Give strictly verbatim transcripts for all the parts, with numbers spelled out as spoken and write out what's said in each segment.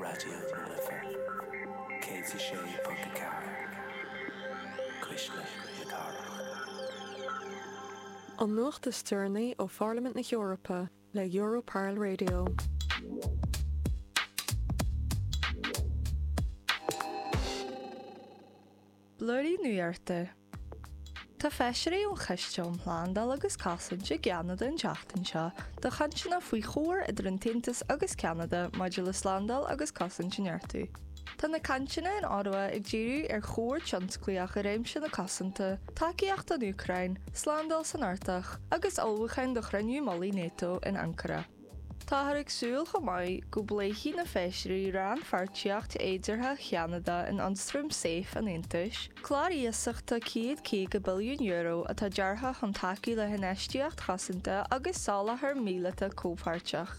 Raidió na Life céad a sé ponc a ceathair Cuisle na Cathrach. An nuacht is deireanaí ó Pharlaimint na hEorpa le Europarl Radio. Blúirí Nuachta. Tá feisirí ón Choiste um Shlándáil agus Cosaint i gCeanada an tseachtain seo do chainteanna faoi chomhar idir an tAontas agus Ceanada maidir le slándáil agus cosaint a neartú. Tá na cainteanna in Ottawa ag díriú ar chomhar tionsclaíoch i réimse na cosanta, tacaíocht don Úcráin, slándáil san Artach agus ullmhúcháin do chruinniú mullaigh NATO in Ankara. Táthar ag súil chomh maith go bpléifidh na feisirí rannpháirtíocht fhéideartha Cheanada in ionstraim SAFE an Aontais, clár iasachta céad caoga billiún euro atá deartha chun tacú le hinfheistíocht chosanta agus soláthar míleata comhpháirteach.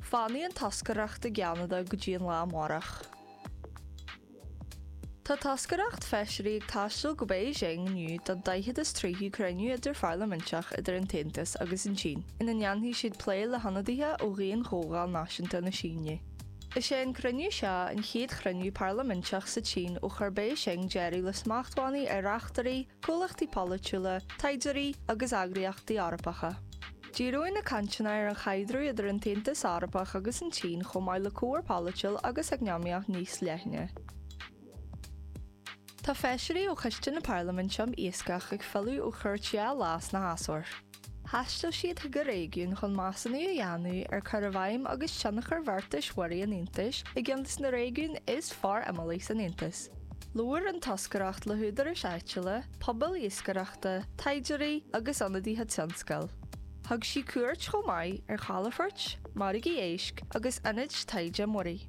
Fanfaidh an toscaireacht i gCeanada go dtí an lá amárach. Tá toscaireacht feisirí ag taisteal go Beijing inniu don daichead is tríú cruinniú idirpharlaiminteach idir an tAontas agus an tSín, ina ndéanfaidh siad plé le hionadaithe ó Dhaon-Chomhdháil Náisiúnta na Síne. Is é an cruinniú seo an chéad chruinniú parlaiminteach sa tSín ó chuir Beijing deireadh le smachtbhannaí ar reachtairí, comhlachtaí polaitiúla, taighdeoirí agus eagraíochtaí Eorpacha. Díreoidh na cainteanna ar an chaidreamh idir an tAontas Eorpach agus an tSín chomh maith le comhar polaitiúil agus eacnamaíoch níos leithne. Tá feisirí ó Choiste na Parlaiminte um Iascach ag filleadh ó chuairt dhá lá sna hAsóir. Thaistil siad chuig an réigiún chun measúnú a dhéanamh ar chur i bhfeidhm agus tionchar bheartais mhuirí an Aontais i gceann de na réigiúin is forimeallaí san Aontas. Labhair an toscaireacht le húdaráis áitiúla, pobail iascaireachta, taighdeoirí agus ionadaithe tionscail. Thug sí cuairt chomh maith ar chalafoirt, margaí éisc agus ionaid taighde muirí.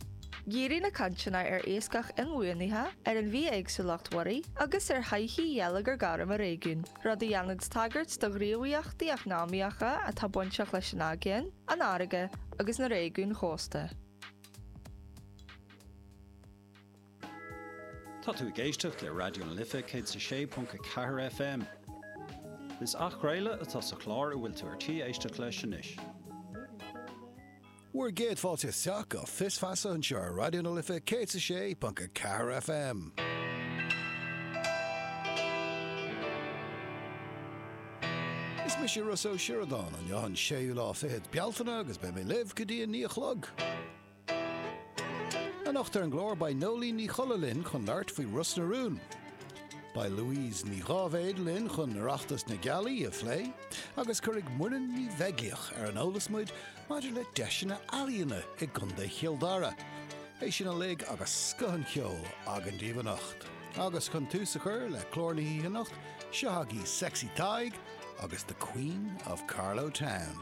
Dhírigh na cainteanna ar iascach inbhuanaithe, ar an bhithéagsúlacht mhuirí agus ar thodhchaí gheilleagar gorm an réigiúin, rud a dhéanann tagairt do ghníomhaíochtaí eacnamaíocha atá bainteach leis an aigéan, an fharraige agus na réigiúin chósta. Tá tú ag éisteacht le Raidió na Life céad a sé ponc a ceathair FM. Is athchraoladh atá sa chlár a bhfuil tú ar tí éisteacht leis anois. Bhur gcéad fáilte isteach go Fios Feasa anseo ar Raidió na Life céad a sé ponc a ceathair FM. Is mise Rossa Ó Sioradáin, inniu an séú lá fichead Bealtaine agus beidh mé libh go dtí a naoi a chlog. Anocht ar an gclár beidh Nóinín Ní Cholla linn chun labhairt faoi Ros na Rún. Beidh Louise Ní Dháibhéid linn chun Oireachtas na Gealaí a phlé agus cuirfidh Muireann Ní Bheaglaoich ar an eolas muid maidir le deiseanna ealaíona i gContae Chill Dara. É sin uilig agus scoth an cheoil againn daoibh anocht. Agus chun tús a chur le clár na hoíche anocht, seo agaibh Sexy Tadhg agus The Queen of Carlow Town.